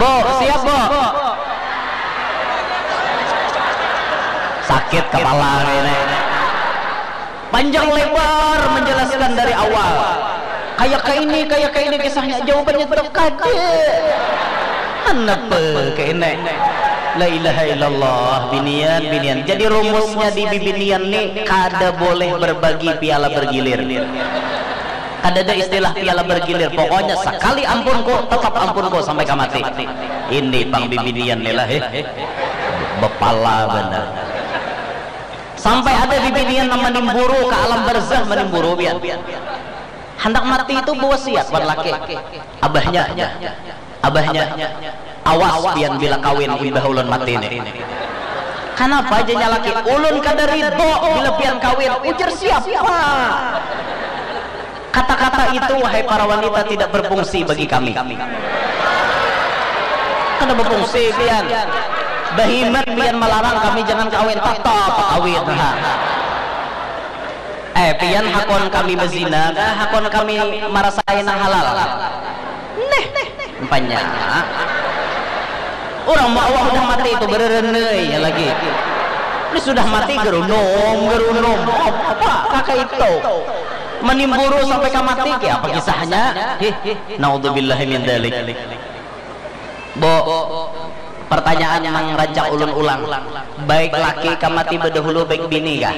Bu, siap, Bu? Sakit kepala ini. Panjang lebar menjelaskan dari awal. Kayak ke ini, kayak ke ini kisahnya, jawabannya tetap kada. Kenapa ke ini? La ilaha illallah, binian, binian. Jadi rumusnya di bibinian nih, kada boleh berbagi piala bergilir. Kada ada istilah piala bergilir. Pokoknya sekali ampunku, tetap ampunku sampai ka mati. Ini pang bibinian nih lah, eh. Bepala benar. Sampai ada bibinian nang manimburu ka alam barzah, manimburu pian. Handak mati itu bawasiat wan laki. Abahnya, abahnya, awas pian bila kawin imbah ulun mati ni. Kanapa janya laki? Ulun kada ridho bila pian kawin. Ujar siapa? Kata-kata itu, wahai para wanita, tidak berfungsi bagi kami. Kada berfungsi pian. Bahimat pian malarang kami jangan kawin, tatap kawin. Ha. Eh, pian hakon kami bazina kah? Hakon kami marasai nang halal? Neh, umpanya. Urang mau awak udah mati itu bererenei ya lagi. Ini sudah mati gerunum, gerunum. Apa kaka itu? Manimburu sampai ka mati, kayak apa kisahnya? Hih, naudzubillahi min dzalik. Bu, pertanyaan nang rancak ulun ulang. Baik laki ka mati bedahulu baik bini kah?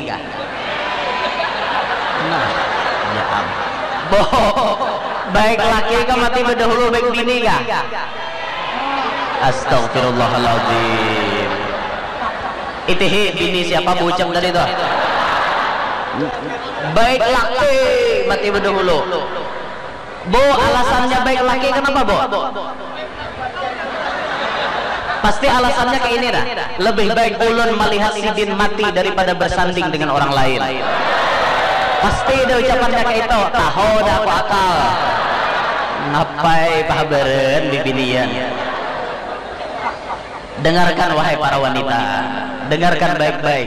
Nah, ya am-, Bu, baik laki ka mati bedahulu baik bini kah? Astagfirullahaladzim. Itihi bini siapa buceng tadi tuh? Baik laki mati bedahulu. Bu, alasannya baik laki kenapa, Bu? Pasti alasannya kayak ini dah. Lebih baik ulun melihat sidin mati daripada bersanding dengan orang lain. Pasti ada ucapannya kayak itu. Tahu dah aku akal. Ngapai pahabaren bibinian? Dengarkan, wahai para wanita. Dengarkan baik-baik.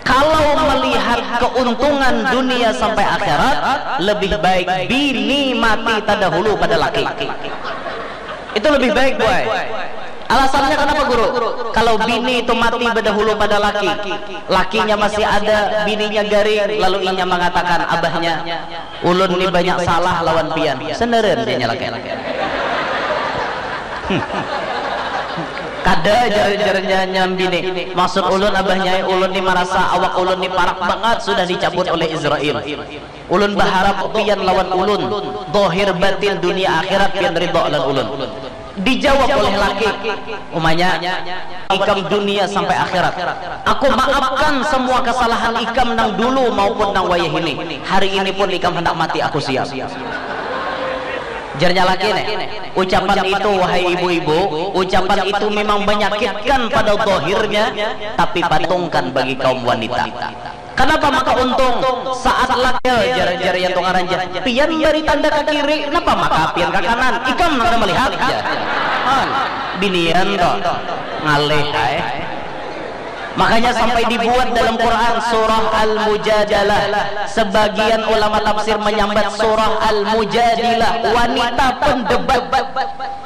Kalau melihat keuntungan dunia sampai akhirat, lebih baik bini mati terdahulu pada laki. Itu lebih baik, boy. Alasannya kenapa, Guru? Kalau bini itu mati berdahulu pada laki, lakinya masih ada, bininya garing, lalu inya mengatakan, "Abahnya, ulun ni banyak salah lawan pian." Seneren dia nyalakan. Kada, jar-jarnya nyambini. Maksud ulun, abahnya, ulun ni marasa awak ulun ni parak banget sudah dicabut oleh Israel. Ulun baharap pian lawan ulun, dohir batin dunia akhirat pian ridho lawan ulun. Dijawab oleh laki, umanya, "Ikam dunia sampai akhirat. Aku maafkan semua kesalahan ikam nang dulu maupun nang wayah ini. Hari ini pun ikam hendak mati, aku siap." Jarnya laki nih, ucapan itu, wahai ibu-ibu, ucapan itu memang menyakitkan pada dohirnya, tapi pada untungkan bagi kaum wanita. Kenapa maka untung? Saat laki, jar, jar yang tungaran, jar, pian beri tanda ke kiri, kenapa maka pian ke kanan? Ikam nang melihat, jar. Han, binian toh, ngalih ai. Makanya sampai dibuat dalam Quran surah Al-Mujadalah. Sebagian ulama tafsir menyambat surah Al-Mujadilah, wanita pendebat.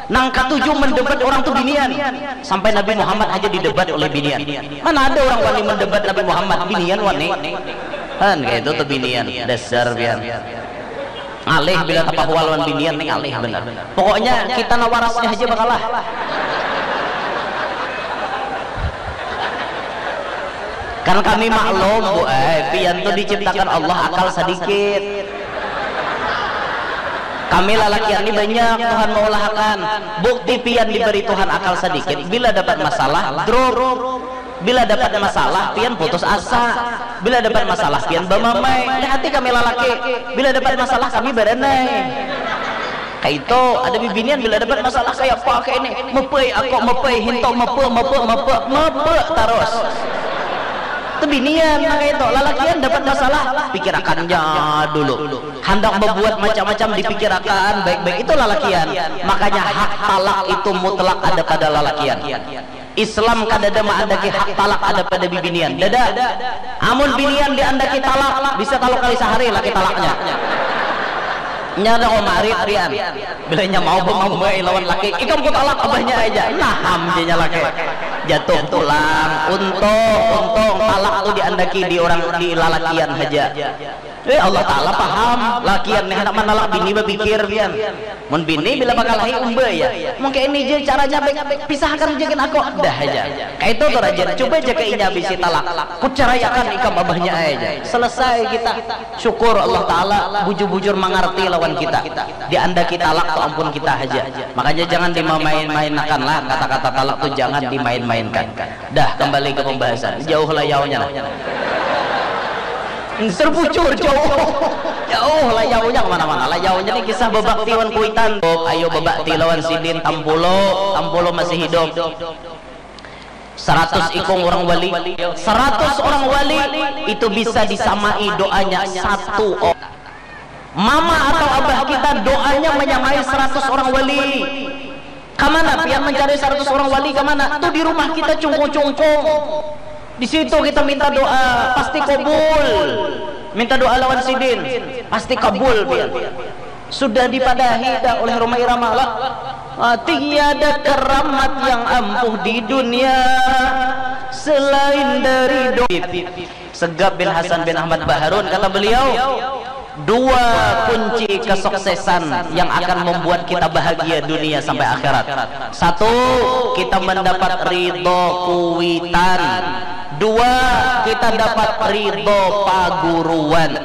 Nang katuju mendebat orang tu binian. Sampai Nabi Muhammad aja didebat oleh binian. Mana ada orang wani mendebat Nabi Muhammad, binian wani. Kan kayak itu tuh binian, dasar pian. Ngalih bila tapahual lawan binian nih, ngalih benar. Pokoknya kita nawarasnya aja bakalah. Kan kami maklum, Bu, eh, pian tuh diciptakan Allah akal sedikit. Kami lalakian ini banyak Tuhan meulahakan. Bukti pian diberi Tuhan akal sedikit, bila dapat masalah, drop. Bila dapat masalah, pian putus asa. Bila dapat masalah, pian bamamai. Lihati kami lalaki, bila dapat masalah, kami baranai. Kaitu, ada bibinian bila dapat masalah kaya apa kaya ini, mepei aku, mepei hinto, mepe, mepe, mepe, mepe tarus. Tu binian nang kaitu, lalakian dapat masalah, pikirakannya dulu. Handak babuat macam-macam dipikirakan baik-baik, itu lalakian. Makanya hak talak itu mutlak ada pada lalakian. Islam kadada maandaki hak talak ada pada bibinian. Dada. Amun binian diandaki talak, bisa talu kali sahari laki talaknya. Nya ada kok marit pian. Bila nya mau bamambai lawan laki, ikam ku talak abahnya aja. Nah, ham janya laki. Jatuh pulang. Untung, untung talak tu diandaki di orang, di lalakian haja. Eh, Allah Ta'ala paham, lakian nih handak manalak bini bapikir pian. Mun bini bila bakalahi umba ya. Mungkin ini je caranya baik, pisahkan je gin aku. Dah aja. Kayak itu tuh rajin. Coba aja ke inya bisi talak. Kucerayakan ikam abahnya aja. Selesai kita. Syukur Allah Ta'ala bujur-bujur mangarti lawan kita. Diandaki talak tu ampun kita aja. Makanya jangan dimain-mainakan lah. Kata-kata talak tu jangan dimain-mainkan. Dah, kembali ke pembahasan. Jauh layaunya nah. Terbucur jauh. Jauh layaunya kemana-mana. Layaunya nih kisah bebakti wan kuitan. Ayo bebakti lawan sidin, tampulo, tampulo masih hidup. Seratus ikung orang wali, seratus orang wali itu bisa disamai doanya satu orang. Mama atau abah kita doanya menyamai seratus orang wali. Kamana pian mencari seratus orang wali, kamana? Tuh di rumah kita cungkung-cungkung. Di situ kita minta doa, pasti kabul. Minta doa lawan sidin, pasti kabul pian. Sudah dipadahi dah oleh Rhoma Irama lah. Ah, tiada keramat yang ampuh di dunia selain dari doa. Segap bin Hasan bin Ahmad Baharun, kata beliau, dua kunci kesuksesan yang akan membuat kita bahagia dunia sampai akhirat. Satu, kita mendapat ridho kuitan. Dua, kita dapat ridho paguruan.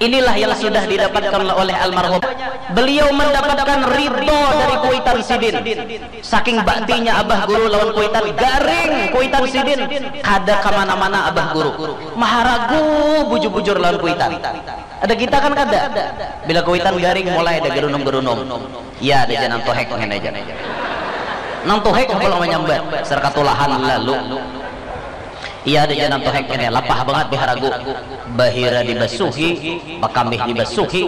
Inilah yang sudah didapatkan oleh almarhum. Beliau mendapatkan ridho dari kuitan sidin. Saking baktinya abah guru lawan kuitan, garing kuitan sidin, kada kamana-mana abah guru. Maharagu bujur-bujur lawan kuitan. Ada kita kan kada. Bila kuitan garing, mulai ada gerunum-gerunum. Iya ada ja nang tuhek ngini ja. Nang tuhek pulang manyambat, serkatulahan lalu. Iya ada ja nang tuhek ngini, lapah bangat biharagu. Bahira dibasuhi, bakambih dibasuhi,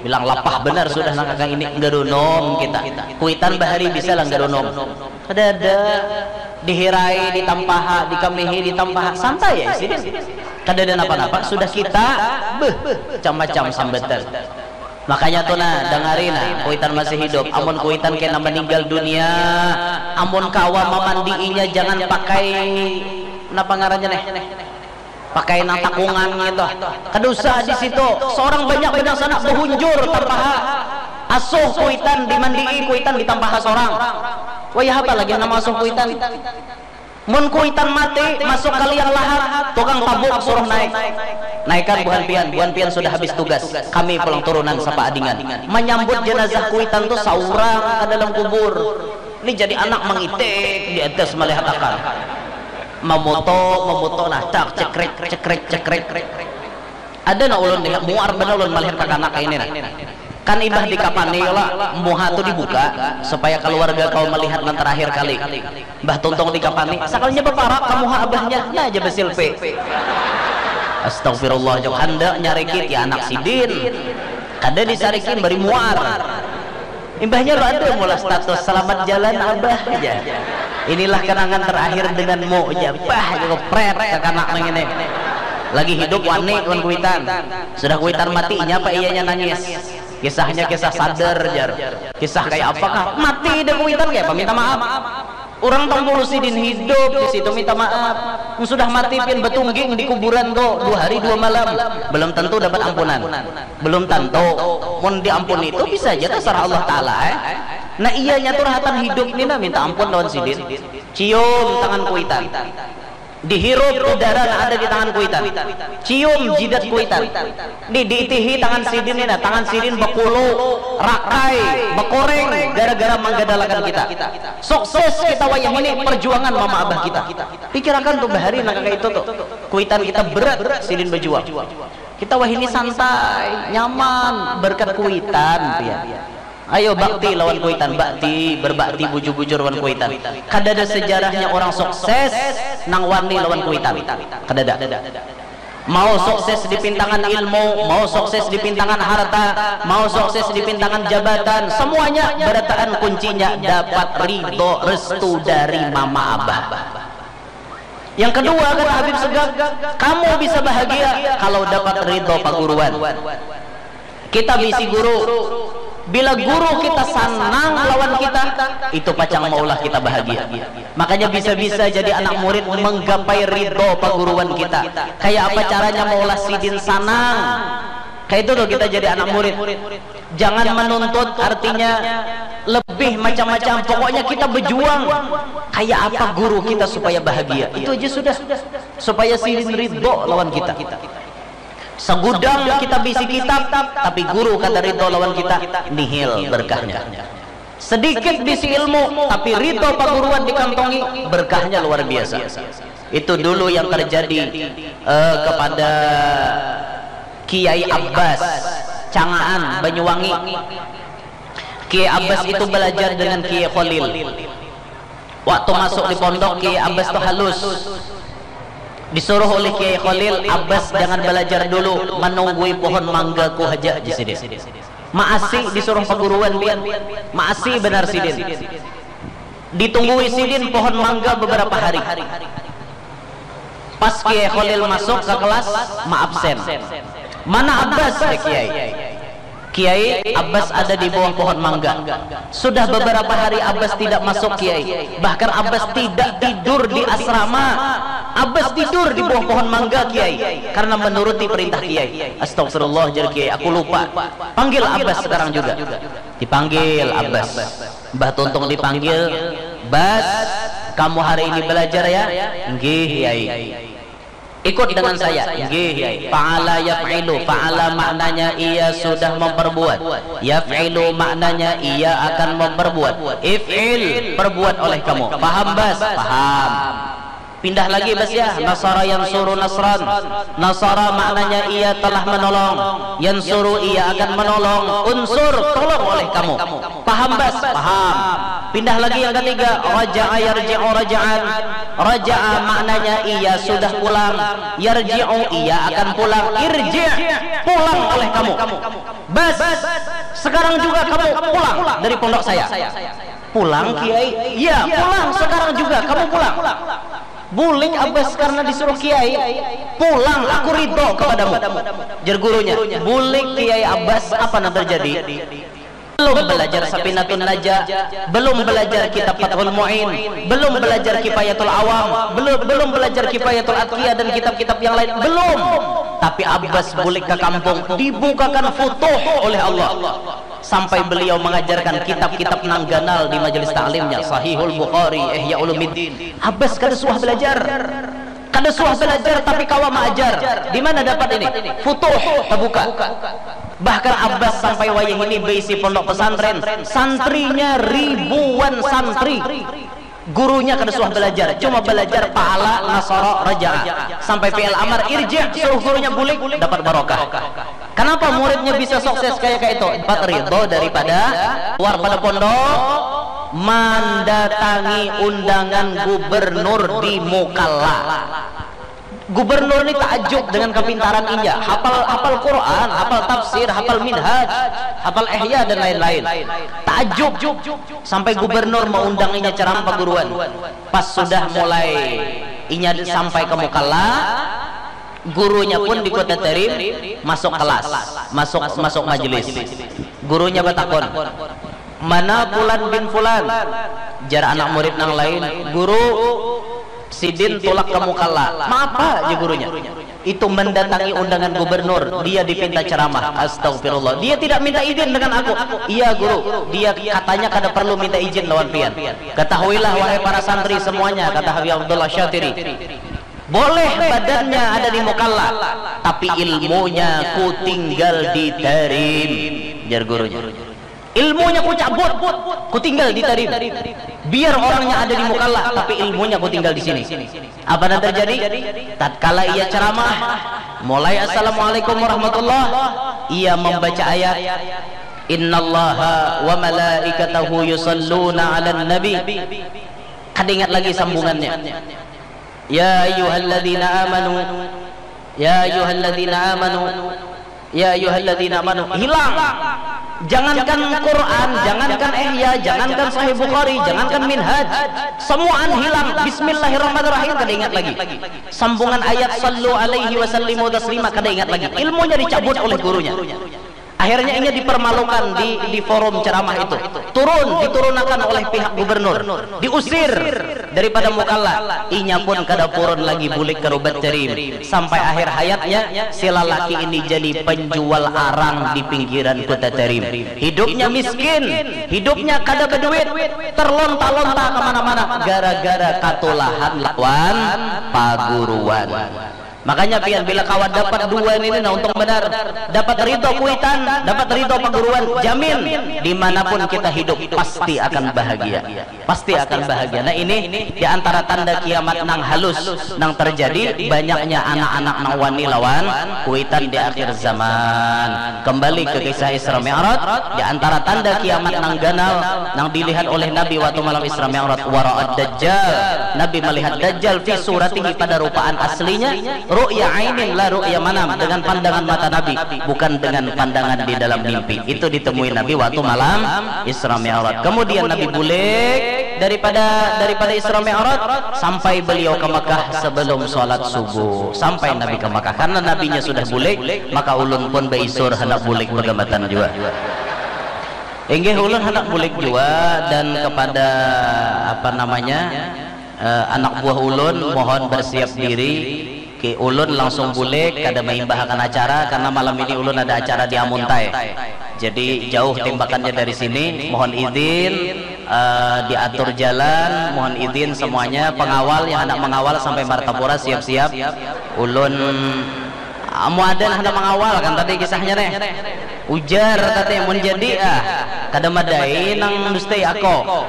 bilang lapah benar sudah nang kakang ini, gerunum kita. Kuitan bahari bisa lah gerunum. Kadada, dihirai, ditampaha, dikambihi, ditampaha, santai ya sidin. Kadada napa-napa, sudah kita, beuh, macam-macam sambatan. Makanya tu nah, dangari nah, kuitan masih hidup. Amun kuitan kena meninggal dunia, amun kawa mamandiinya jangan pakai, napa ngarannya neh? Pakai nang takungan ngitu. Kada usah di situ. Seorang banyak badasana bahunjur tampaha. Asuh kuitan dimandii, kuitan ditampaha sorang. Wayah apa lagi nang maasuh kuitan? Mun kuitan mati masuk ka liang lahat, tukang tabuk suruh naik. Naikan buhan pian, buhan pian sudah habis tugas. Kami pulang turunan sapaadingan. Manyambut jenazah kuitan tu saurang ka dalam kubur. Ni jadi anak mangitik di atas malihat akal. Mamoto, mamoto nah, cak, cekrek, cekrek, cekrek. Ada nah ulun nih, muar banar ulun malihat kakanak ini nah. Kan imbah dikapani lah, muha tu dibuka supaya kaluarga kawa malihat nang terakhir kali. Mbah tuntung dikapani, sakalinya baparak ka muha abahnya, nah aja basilpi. Astagfirullah, jauh handak nyarikit ya anak sidin. Kada disarikin, bari muar. Imbahnya lo ada mula status, "Selamat jalan, Abah," aja. "Inilah kenangan terakhir denganmu," aja. Bah, aja kepret kakanak nang ini. Lagi hidup wani wan kuitan. Sudah kuitan mati, nyapa iyanya nangis. Kisahnya kisah sadar, jar. Kisah kayak apakah? Mati dah kuitan, kayak apa minta maaf? Urang tampulu sidin hidup di situ minta maaf. Mun sudah mati pian batungging di kuburan tu dua hari dua malam, belum tentu dapat ampunan. Belum tentu. Mun diampuni tu bisa aja tasarah Allah Ta'ala, eh. Nah, iyanya tu rahatan hidup ni nah minta ampun lawan sidin. Cium tangan kuitan. Dihirup udara nang ada di tangan kuitan. Cium jidat kuitan. Ni diitihi tangan sidin ni nah, tangan sidin bakulu, rakai, bakoreng gara-gara manggadalakan kita. Sukses kita wayah ini perjuangan mama abah kita. Pikirakan tuh bahari nang kaya itu tuh. Kuitan kita berat sidin bajuang. Kita wahini santai, nyaman, berkat kuitan, pian. Ayo bakti lawan kuitan, bakti, berbakti bujur-bujur lawan kuitan. Kadada sejarahnya orang sukses nang wani lawan kuitan. Kadada. Mau sukses di pintangan ilmu, mau sukses di pintangan harta, mau sukses di pintangan jabatan, semuanya berataan kuncinya dapat ridho restu dari mama abah. Yang kedua, kata Habib Segaf, kamu bisa bahagia kalau dapat ridho paguruan. Kita bisi guru. Bila guru kita sanang lawan kita, itu pacang maulah kita bahagia. Makanya bisa-bisa jadi anak murid menggapai ridho paguruan kita. Kayak apa caranya maulah sidin sanang? Kayak itu tuh kita jadi anak murid. Jangan menuntut, artinya lebih macam-macam. Pokoknya kita berjuang. Kayak apa guru kita supaya bahagia. Itu aja sudah. Supaya sidin ridho lawan kita. Segudang kita bisi kitab, tapi guru kada ridho lawan kita, nihil berkahnya. Sedikit bisi ilmu, tapi ridho paguruan dikantongi, berkahnya luar biasa. Itu dulu yang terjadi eh, kepada Kiai Abbas Cangaan Banyuwangi. Kiai Abbas itu belajar dengan Kiai Kholil. Waktu masuk di pondok, Kiai Abbas tuh halus. Disuruh oleh Kiai Kholil, Abbas jangan belajar dulu, menunggui pohon mangga ku haja di sini. Maasi disuruh paguruan pian, maasi benar sidin. Ditunggui sidin pohon mangga beberapa hari. Pas Kiai Kholil masuk ke kelas, maabsen. Mana Abbas? Ya Kiai. Kiai, Abbas ada di bawah pohon mangga. Sudah beberapa hari Abbas tidak masuk, Kiai. Bahkan Abbas tidak tidur di asrama. Abbas tidur di bawah pohon mangga, Kiai, karena menuruti perintah Kiai. Astagfirullah, jar Kiai, aku lupa. Panggil Abbas sekarang juga. Dipanggil Abbas. Mbah Tuntung dipanggil, Bas, kamu hari ini belajar ya? Nggih, Kiai. Ikut dengan saya. Nggih, Kiai. Fa'ala yaf'ilu. Fa'ala maknanya ia sudah memperbuat. Yaf'ilu maknanya ia akan memperbuat. If'il, perbuat oleh kamu. Paham, Bas? Paham. Pindah lagi, Bas, ya. Nasara yansuru nasran. Nasara maknanya ia telah menolong. Yansuru, ia akan menolong. Unsur, tolong oleh kamu. Paham, Bas? Paham. Pindah lagi yang ketiga, raja'a yarji'u raja'an. Raja'a maknanya ia sudah pulang. Yarji'u, ia akan pulang. Irji', pulang oleh kamu. Bas, sekarang juga kamu pulang dari pondok saya. Pulang, Kiai? Ya, pulang sekarang juga, kamu pulang. Bulik Abbas karena disuruh Kiai. Pulang, aku ridho kepadamu. Jar gurunya, bulik Kiai Abbas, apa yang terjadi? Belum belajar Safinatun Najah, belum belajar kitab Fathul Mu'in, belum belajar Kifayatul Awam, belum belum belajar Kifayatul Atqiya dan kitab-kitab yang lain, belum. Tapi Abbas bulik ke kampung, dibukakan futuh oleh Allah. Sampai beliau mengajarkan kitab-kitab nang ganal di majelis taklimnya, Sahihul Bukhari, Ihya Ulumuddin. Abbas kada suah belajar. Kada suah belajar tapi kawa maajar. Di mana dapat ini? Futuh tabuka. Bahkan Abbas sampai wayah ini beisi pondok pesantren, santrinya ribuan santri. Gurunya kada suah belajar, cuma belajar fa'ala, nasara, raja'a. Sampai fi'il amar, irji', suruh gurunya bulik, dapat barokah. Kenapa muridnya bisa sukses kayak kayak itu? Dapat ridho daripada luar pada pondok, mendatangi undangan gubernur di Mukalla. Gubernur ni takjub dengan kepintaran inya, hafal hafal Quran, hafal tafsir, hafal minhaj, hafal ihya dan lain-lain. Takjub sampai gubernur mengundang inya ceramah paguruan. Pas sudah mulai inya sampai ke Mukalla, gurunya pun di Kota Terim masuk kelas, masuk masuk majelis. Gurunya batakun, mana Fulan bin Fulan? Jar anak murid nang lain, Guru, sidin tulak ke Mukalla. Mapa? Jar gurunya. Itu mendatangi undangan gubernur, dia dipinta ceramah. Astagfirullah. Dia tidak minta izin dengan aku. Iya guru, dia katanya kada perlu minta izin lawan pian. Ketahuilah wahai para santri semuanya, kata Habib Abdullah Syatiri. Boleh badannya ada di mukalla, tapi ilmunya ku tinggal di Tarim, jar gurunya. Ilmunya ku cabut, ku tinggal di Tarim. Biar orangnya ada di mukalla, tapi ilmunya ku tinggal di sini. Apa yang terjadi? Tatkala ia ceramah, mulai "Assalamualaikum warahmatullah", ia membaca ayat, "Innallaha wa malaikatahu yusalluna 'alan nabi." Kada ingat lagi sambungannya. "Ya ayyuhalladzina amanu, ya ayyuhalladzina amanu, ya ayyuhalladzina amanu." Hilang. Jangankan Quran, jangankan Ihya, jangankan Sahih Bukhari, jangankan Minhaj, semuaan hilang. Bismillahirrahmanirrahim, kada ingat lagi. Sambungan ayat "Sallu alaihi wa sallimu taslima" kada ingat lagi. Ilmunya dicabut oleh gurunya. Akhirnya inya dipermalukan di, di forum ceramah itu. Turun, diturunakan oleh pihak gubernur. Diusir daripada mukalla. Inya pun kada purun lagi bulik ka rubat Tarim. Sampai akhir hayatnya, si lalaki ini jadi penjual arang di pinggiran kota Tarim. Hidupnya miskin, hidupnya kada beduit, terlonta-lonta kemana-mana gara-gara katulahan lawan paguruan. Makanya pian, bila kawa dapat dua ini, nah, untung benar. Dapat ridho kuitan, dapat ridho paguruan, jamin dimanapun kita hidup pasti akan bahagia. Pasti akan bahagia. Nah, ini di antara tanda kiamat nang halus nang terjadi, banyaknya anak-anak nang wani lawan kuitan di akhir zaman. Kembali ke kisah Isra Mi'raj, di antara tanda kiamat nang ganal nang dilihat oleh Nabi waktu malam Isra Mi'raj, wara'ad dajjal. Nabi melihat dajjal fi suratihi, pada rupaan aslinya, ru'ya ainin la ru'ya manam, dengan pandangan mata Nabi, bukan dengan pandangan di dalam mimpi. Itu ditemui Nabi waktu malam Isra Mi'raj. Kemudian Nabi bulik daripada, daripada Isra Mi'raj sampai beliau ke Mekah sebelum sholat subuh. Sampai Nabi ke Mekah, karena nabinya sudah bulik, maka ulun pun beisur hendak bulik begambatan jua. Inggih, ulun hendak bulik jua, dan kepada, apa namanya, eh, anak buah ulun, mohon bersiap diri. Ki, ulun langsung bulik, kada maimbahakan acara karena malam ini ulun ada acara di Amuntai. Jadi jauh timbakannya dari sini. Mohon izin, eh, diatur jalan, mohon izin semuanya, pengawal yang hendak mengawal sampai Martapura siap-siap. Ulun, ah, mau ada yang hendak mengawal kan tadi kisahnya nih. Ujar tadi, "Mun jadi, ah, kada madai nang dustai ako."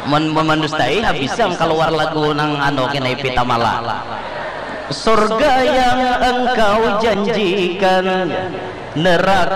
Mun, mun mandustai, habis am kaluar lagu nang anu kena Ipita Mala. Surga yang engkau janjikan, neraka